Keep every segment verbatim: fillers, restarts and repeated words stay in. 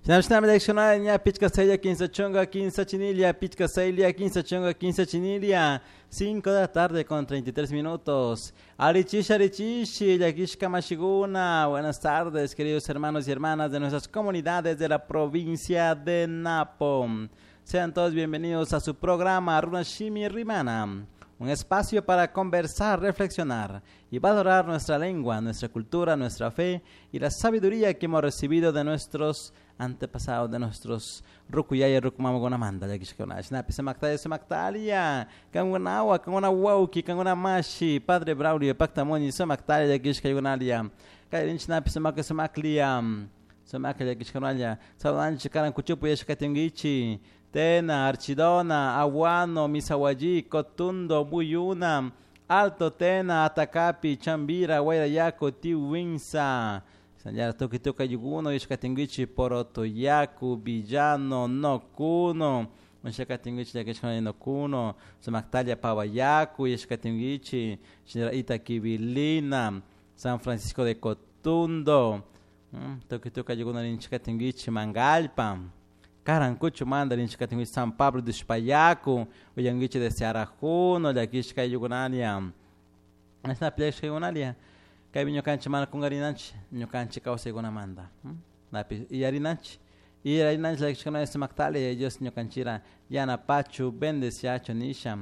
Shinami pichka saylla kinsa chunka kinsa chinilia, pichka saylla kinsa chunka kinsa chinilia. cinco de la tarde con treinta y tres minutos. Arichishi, arichishi, llakishka mashiguna. Buenas tardes, queridos hermanos y hermanas de nuestras comunidades de la provincia de Napo. Sean todos bienvenidos a su programa Runashimi Rimana, un espacio para conversar, reflexionar y valorar nuestra lengua, nuestra cultura, nuestra fe y la sabiduría que hemos recibido de nuestros antepasados, de nuestros rukuyaya, rukumama, gunamanda, llakishkuna. Shinapi samaktaya, samaktalia, kangunawa, kanguna wauki, kanguna mashi, Padre Braulio, Pactamoni, samaktaya, llakishkayunalia, kayrin shinapi samaka, samaklia, samaka, llakishkunalia, saludanchi, karan kuchupu, yashkatingichi, Tena, Archidona, Aguano, Misahuallí, Cotundo, Muyuna, Alto Tena, Atacapi, Chambira, Guayrayaco, Tiwinsa, Sanyara Tuki Tuka Yuguno, Ishkatinguichi, Porotoyacu, Villano, Nocuno, Ishkatinguichi, Yakishkana Nocuno, Samactalia, Pabayacu, Ishkatinguichi, Itaquibilina, San Francisco de Cotundo, Tuki Tuka Yuguno, Ishkatinguichi, Mangalpa, Carancucho manda rinchikatinguichi San Pablo de Ushpayacu, uyanguichi de Cearajuno, llakishka yugunalia. Esta pleshka yugunalia. Kaypi ñukanchik mana kungarinanchik, ñukanchik kawsaykunamanta. Napi iyarinanchik, iyarinanchik llakishkuna sumaktalia, Dios ñukanchira yanapachu, bendeciachu nisha.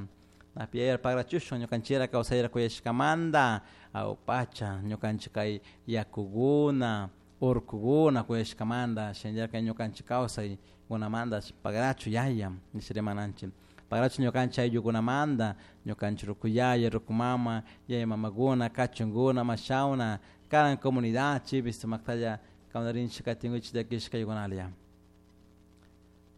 Napi yayar pagrachushun ñukanchira kawsayra kuyashkamanta, awpacha ñukanchik kay yakuguna, urkuguna kuyashkamanta, shinallar kay ñukanchik kawsay gunamanta pagrachu yaya nisha rimananchik. Pagrachu ñukanchik ayllukunamanta, ñukanchik rukuyaya, rukumama, yaya mamaguna, kachunguna, mashawna, karan comunidad chipis sumaktalla kawnarinchik katinguchik llakishka yugunalia.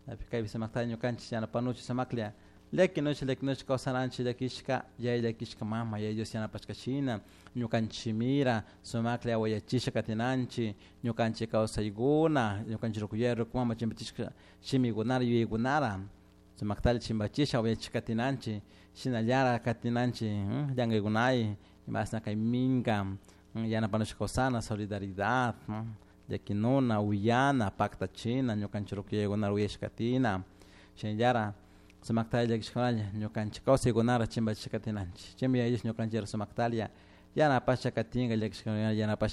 Napi kaypi sumaktalla ñukanchik yanapanuchik sumaklla llakinuchik llakinuchik kawsananchik llakishka yaya llakishka mama yaya Dios yanapashka shina ñukanchimira sumaklla awayachisha katinanchik ñukanchik kawsaykuna ñukanchik rukuyaya rukumama chimpachishka shimikunara yuyaykunara sumaktalla chimpachisha awayachishka katinanchik shinallara katinanchik llankaykunay imasna kay minka yanapanushka kawsana solidaridad llakinuna uyana paktachina ñukanchik rukuyaykunara uyashka katina shinallara sumaktalla llakishkunalla ñukanchik kawsaykunara chimpachishka katinanchik chaymi yaya Dios ñukanchik sumaktalla yanapasha katinka llakishkunalla yanapasha.